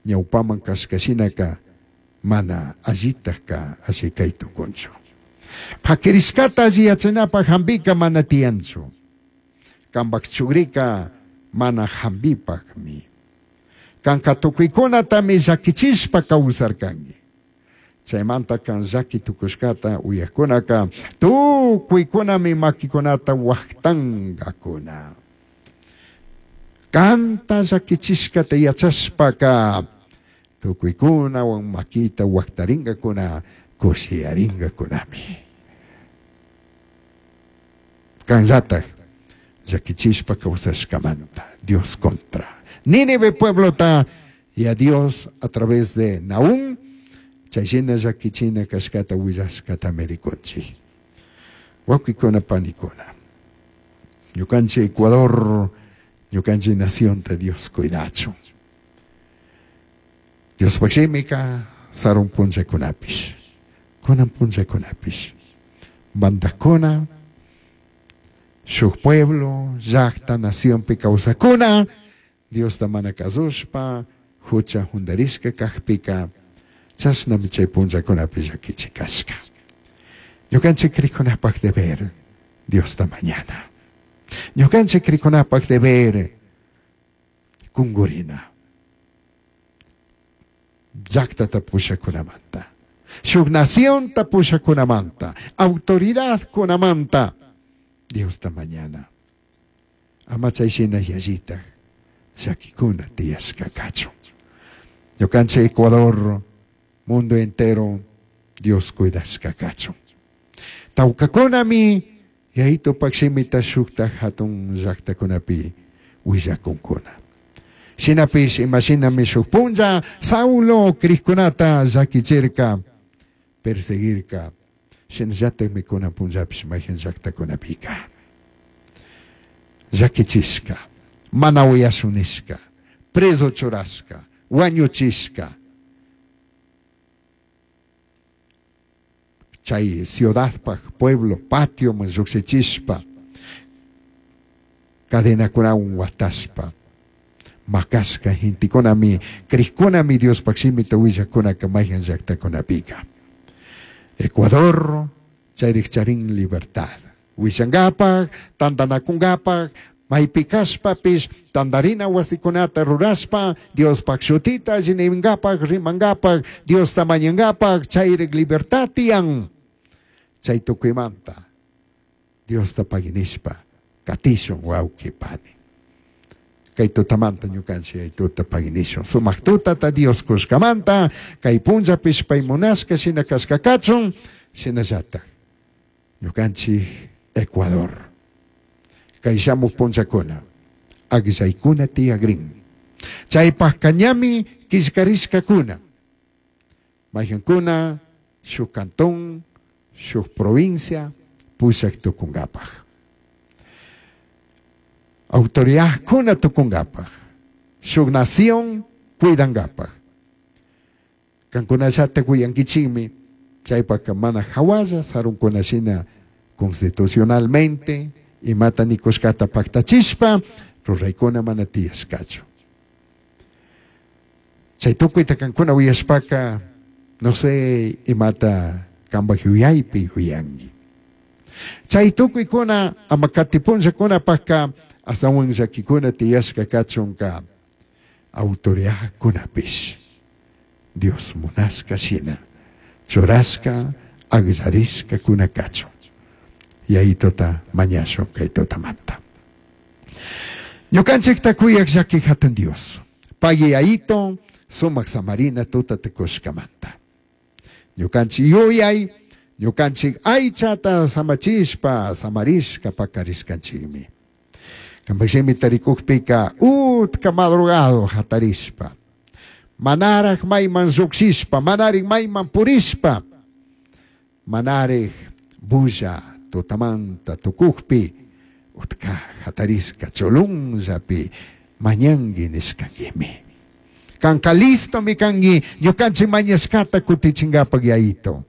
Ñaupaman cashca shinaca mana allitajca alli cai tucunchu. Paquirishcata alli yachanapaj jambica mana tiyanchu. Cambaj chugrica mana jambipajmi. Canca tucuicunatami llaquichishpa causarcangui. Chaimanta can llaqui tucushcata uyajcunaca tucuicunami maquicunata huajtangacuna. Canta llaquichishcata yachashpaca tucuicunahuan maquita huajtaringacuna, cushiyaringacunami. Canllataj llaquichishpa causashcamanta Dios contra. Nínive pueblota y a Dios a través de Nahum chay shina llaquichina cashcata huillashcatami ricunchij. Huauquicuna panicuna, ñucanchik Ecuador, ñucanchik nacionta Dios cuidachun. Diospaj shimica sarun punllacunapish, cunan punllacunapish, mandajcuna, shuj pueblo, llajta, nacionpi causacuna, Diosta mana cazushpa, jucha jundarishca cajpica, chashnami chai punllacunapi llaquichi cashca. Ñucanchik cricunapaj deber Diosta mañana. Ñucanchik cricunapaj deber cungurina. Llactata pushacunamanta, shuj nacionta pushacunamanta, autoridadcunamanta Diosta mañana. Ama chay shina yallitaj llaquicuna tiyashca cachun. Ñucanchik Ecuador, mundo entero, Dios cuidashca cachun. Taucacunami Yaitupaj shimita shujtaj jatun llajtacunapi huillacuncuna. Shinapish ima shinami shuj punlla Saulo crijcunata llaquichirca, perseguirca, shinallatajmi cunan punllapish maijan llajtacunapica llaquichishca, mana uyashun nishca, prezo churashca, huañuchishca. Chai ciudadpaj pueblo patioman llujshichishpa, cadenacunahuan huatashpa, macashca gentecunami, crijcunami Diospaj shimita huillajcunaca maijan llajtacunapica. Ecuador chairij charin libertad. Huillangapaj, tandanacungapaj, maipi cashpapish tandarina huasicunata rurashpa, Diospaj shutita alli ningapaj, rimangapaj, Diosta mañangapaj, chairij libertad tiyan. Chay tucuimanta Diosta paguinishpa catishun huauqui pani. Kay tutamanta ñukanchik Yaituta paguinishun. Sumaq tutata Dios kushkamanta, kay punllapish pay munashka shina kashka kachun, shinallataj ñukanchik Ecuador. Kay shamuj punllakuna, agllaykuna tiyagrin. Chaypajka ñami killkarishkakuna. Mayjankuna shuk cantón, shuk provincia pushak tukunkapaj. Autoridadkuna tukunkapaj, shuk nación cuidankapaj. Kankunallata cuyankichikmi, chaypajka mana hawalla sarunkuna shina constitucionalmente imata nikushkata paktachishpa ruraykuna mana tiyashkachu. Chay tukuyta kankuna uyashpaka, no sé imata kambaj yuyaypi yuyanki. Chay tukuykuna ama katipunllakunapajka astawan llakikuna tiyashka kachunka autoridadkunapish Dios munashka shina churashka agllarishkakuna kachun. Yaitota mañashun kay tutamanta. Ñukanchikta kuyaj llaki hatun Dios. Pagui Yaito sumak samarina tuta tukushkamanta. Ñukanchik yuyay, ñukanchik aychata samachishpa, samarishka pakarishkanchikmi. Kambaj shimita rikukpika utka madrugado hatarishpa, manaraj mayman llukshishpa, manarik mayman purishpa, manarik bulla tutamanta tukukpi, utka hatarishka chulunllapi mañangi nishkanguimi. Kanka listomi kangi ñukanchik mañashkata kutichinkapak Yaito.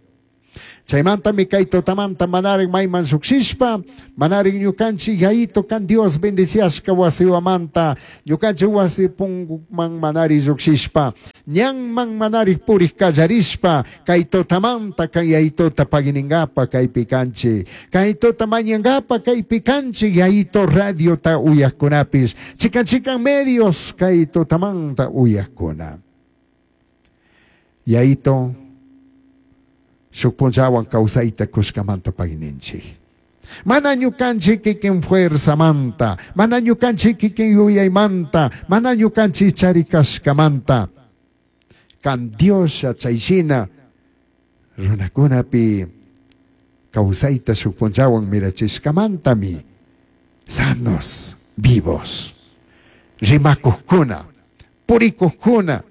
Chaymantami kay tutamanta manarik mayman llukshishpa, manarik ñukanchik Yaito kan Dios bendiciashka wasiwamanta, ñukanchik wasi punguman manari llukshishpa, Ñanman manarij purij kallarishpa kay tutamanta kan Yayituta paginingapa kaypi kanchik. Kay tuta mañangapa kaypi kanchik Yayito radiota uyajkunapis. Chikan chikan medios kay tutamanta uyajkuna. Yayito shuk punllawan kawsayta kushkamanta pagininchik. Mana ñukanchik kikin fuerzamanta, mana ñukanchik kikin yuyaymanta, mana ñukanchik charikashkamanta. Kan Dioslla chayshina runakunapi kawsayta shuk punllawan mirachishkamantami sanos, vivos, rimakuqkuna, purikuqkuna,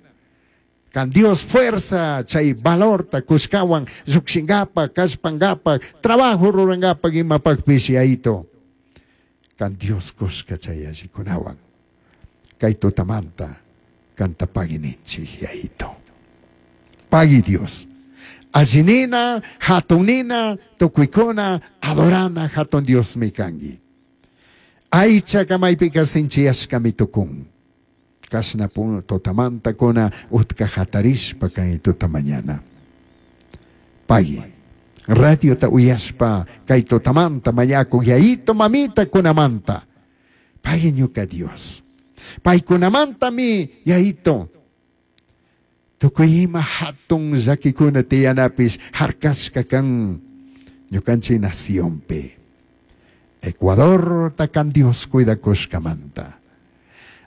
kan Dios fuerza chay valorta kushkawan llukshinkapak, kallpankapak, trabajo rurankapak imapakpish Yayito. Kan Dios kushka chay allikunawan. Kay tutamanta kanta pagininchik Yayito. Pagui Dios. Allinina, hatunina, tukuykuna, adorana hatun Dios mi kanki. Aychaka maypika sinchiyashkami tukun. Kashna tutamanta kuna utka hatarishpa kay tuta mañana. Pagui. Radiota uyashpa kay tutamanta mañakuk yayito mamita kunamanta. Pagui ñuka Dios. Paykunamantami yayito. Tukuy ima hatun llakikuna tiyanapis harkashka kan ñukanchik nacionpi. Ecuador kan Dios cuidakushkamanta.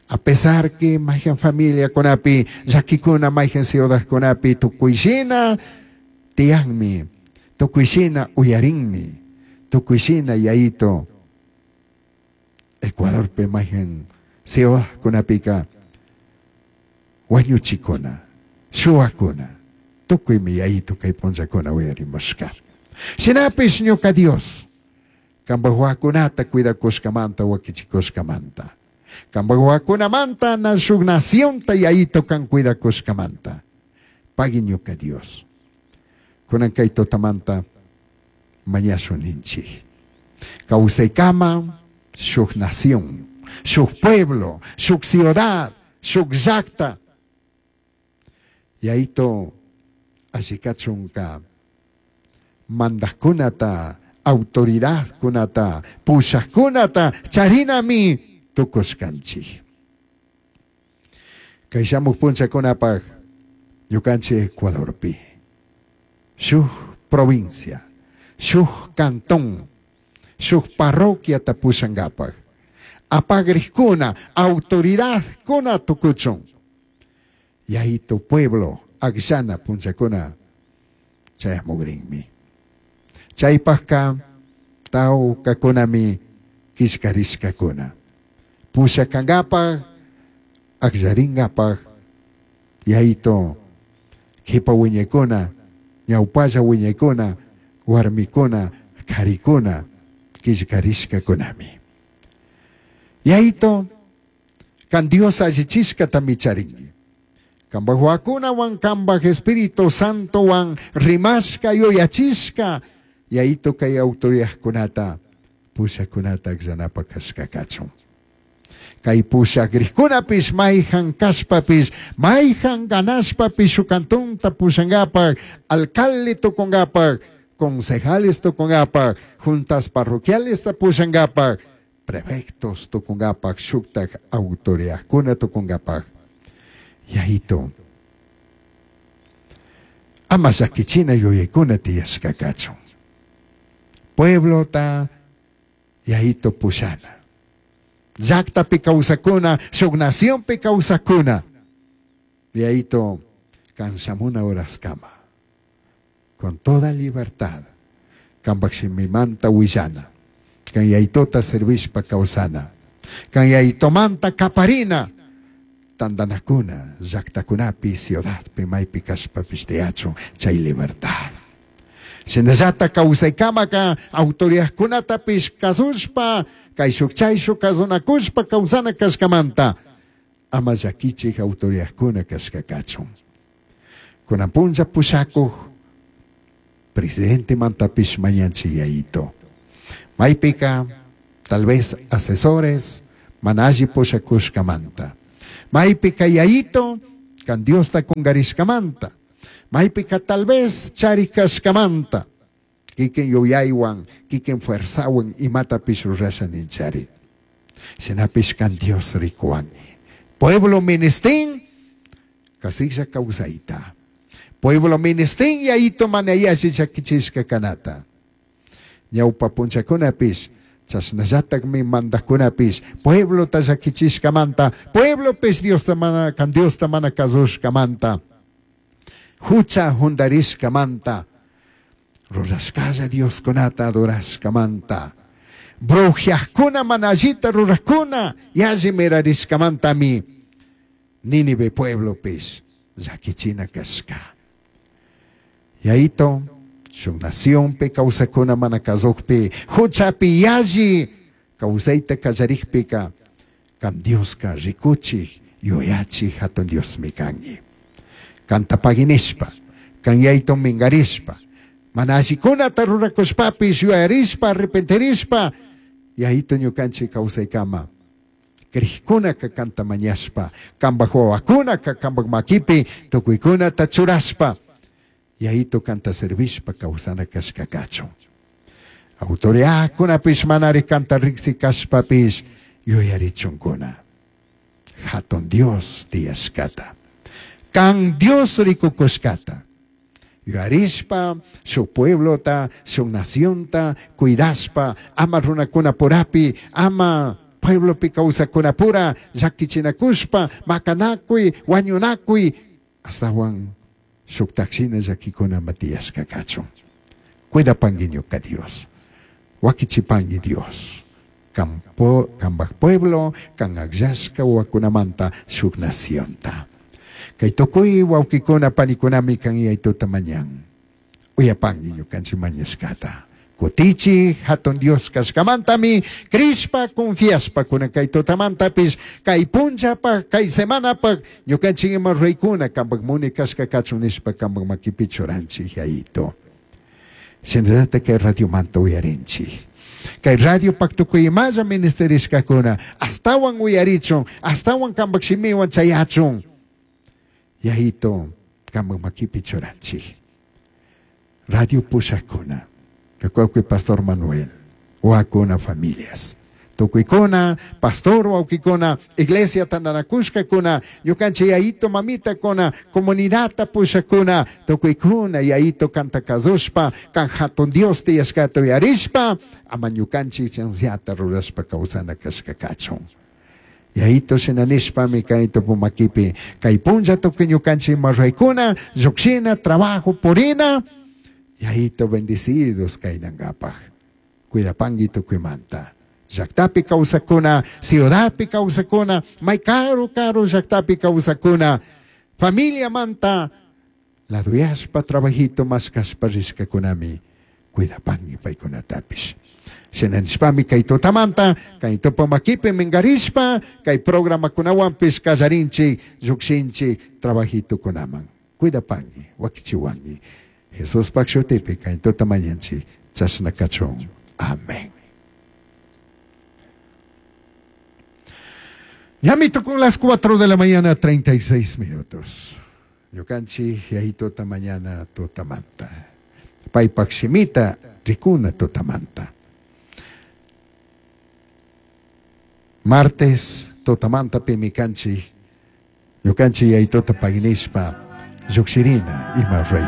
A pesar que mayhan familia kunapi, llakikuna mayhan ciudadkunapi tukuyshina tiyanmi, tukuyshina uyarinmi, tukuyshina yayito. Ecuadorpi mayhan ciudadkunapika wañuchikuna, shuwakuna, tukuymi yayito kay punllakuna uyarimushka. Shinapish ñuka Dios, kanpak wawakunata cuidakushkamanta, wakichikushkamanta. Kanpak wawakunamanta na shuk nacionta yayito kan cuidakushkamanta. Pagui ñuka Dios. Kunan kay tutamanta mañashun ninchik. Kawsaykama shuk nación, shuk pueblo, shuk ciudad, shuk llakta. Yayito allikachunka mandajkunata, autoridadkunata, pushajkunata charinami tukushkanchik. Kay shamuq punchakunapaq ñukanchik Ecuadorpi shuk provincia, shuk cantón, shuk parroquiata pushankapaq apagrikkuna, autoridadkuna tukuchun. Yayito pueblo akllana punchakuna chayamukrinmi. Chaypaqka tawkakunami killkarishkakuna. Pushakankapaq, akllarinkapaq, yayito kipa wiñaykuna, ñawpalla wiñaykuna, warmikuna, karikuna, killkarishkakunami. Yayito, kan Dios allichishkatami charinki. Kanpak wawakunawan, kanpak Espíritu Santowan rimashka yuyachishka, yayito kay autoridadkunata, pushakunata akllanapak kashka kachun. Kay pushakriqkunapish mayhan kashpapish, mayhan ganashpapish shuk cantonta pushankapak, alcalde tukunkapak, concejales tukunkapak, juntas parroquiales pushankapak, prefectos tukunkapak, shuktak autoridadkuna tukunkapak. Yayito, ama llakichina yuyaykuna tiyashka kachun. Pueblota yayito pushana. Llaktapi kawsakuna, shuk nacionpi kawsakuna. Yayito, kan shamuna horaskama. Con toda libertad, kanpak shimimanta willana. Kan yayitota servishpa kawsana. Kan yayitomanta kaparina. Tandanakuna, llaktakunapi, ciudadpi, maypi kashpapish tiyachun chay libertad. Shinallata kawsaykamaka autoridadkunatapish kasushpa, kayshuk chayshuk kasunakushpa kawsana kashkamanta, ama llakichik autoridadkuna kashka kachun. Kunan punlla pushakuq presidente mantapish mañanchik yayito. Maypika, tal vez asesores, mana alli pushakushkamanta. Maypika yayito, Kan Diosta kungarishkamanta. Maypika tal vez charik kashkamanta. Kikin yuyaywan, kikin fuerzawan imatapish rurasha ninchari. Shinapish kan Dios rikuwangi. Pueblo ministin, kasilla kawsayta. Pueblo ministin yayito mana yalli llakichishka kanata. Ñawpa punchakunapish, chashnallatakmi mandajkunapish, pueblota llakichishkamanta, pueblopish Diosta mana, kan Diosta mana kasushkamanta, hucha jundarishkamanta, rurashkalla Dioskunata adorashkamanta, brujiajkuna mana allita rurajkuna yalli mirarishkamantami Nínive pueblopish llakichina kashka. Yayito, shuk nacionpi kawsakuna mana kasukpi, huchapi yalli kawsayta kallarikpika, kan Dioska rikuchik, yuyachik hatun Diosmi kanki. Kanta paginishpa, kan yayto mingarishpa, mana allikunata rurakushpapish yuyarishpa, arrepentirishpa, yayito ñukanchik kawsaykama. Crijkunaka kanta mañashpa, kanpak wawakunaka kanpak makipi tukuykunata churashpa, yayito kanta servishpa kawsana kashka kachun. Autoridadkunapish manari kanta riksi kashpapish yuyarichunkuna. Hatun Dios tiyashkata. Kan Dios rikukushkata. Yuyarishpa, shuk pueblota, shuk nacionta, cuidashpa, ama runakuna purapi, ama pueblopi kawsakunapura, llakichinakushpa, makanakuy, wañunakuy, astawan shuktakshina llakikuna matiyashka kachun. Cuidapangi ñuka Dios. Wakichipangi Dios. Kampo, kambaj pueblo, kan akllashka wawakunamanta shuk nacionta. Kay tukuy wawkikuna panikunami kan yaytuta mañan. Uyapangi ñukanchik mañashkata. Kutichi hatun Dios kashkamantami crishpa confiashpa kunan kay tutamantapis kay punchapaj kay semanapaj ñukanchik ima ruraykuna kanpak muni kashka kachun nishpa kanpak makipi churanchik yayito. Shinallatak kay radiomanta uyarinchik. Kay radiopak tukuy imalla ministerishkakuna astawan uyarichun, astawan kanpak shimiwan chayachun. Yayito kanpak makipi churanchik. Radio pushakuna. Kakuakuy Pastor Manuel, wakuna familias. Tukuykuna, pastor wawkikuna, iglesia tantanakushkakuna, ñukanchik yayito mamitakuna, comunidadta pushakuna, tukuykuna yayito kanta kasushpa, kan hatun Dios tiyashkata uyarishpa, ama ñukanchik chanziata rurashpa kawsana kashka kachun. Yayito shina nishpami kay tupumakipi, kay punlla tukuy ñukanchik marraykuna, llukshina, trabajo, purina, yayito bendecidos kaynankapaj. Cuidapangi tukuymanta. Llaktapi kawsakuna, ciudadpi kawsakuna, may karu karu llaktapi kawsakuna, familia manta, laduyashpa trabajito mashkashpa rishkakunami, cuidapangi paykunatapish. Shina nishpami kay tutamanta, kay tupamakipi mingarishpa, kay programakunawanpish kallarinchik, llukshinchik, trabajitukunaman. Cuidapangi, wakichiwangi. Jesuspak shutipi kay tutamañanchik, chashna kachun. Amén. Ya me tocó las 4 de la mañana, 36 minutos. Ñukanchik yayito mañana tutamanta. Paypak shimita rikuna tutamanta. Martes tutamanta pimi kanchik. Ñukanchik yayitota paginishpa llukshirina ima rey.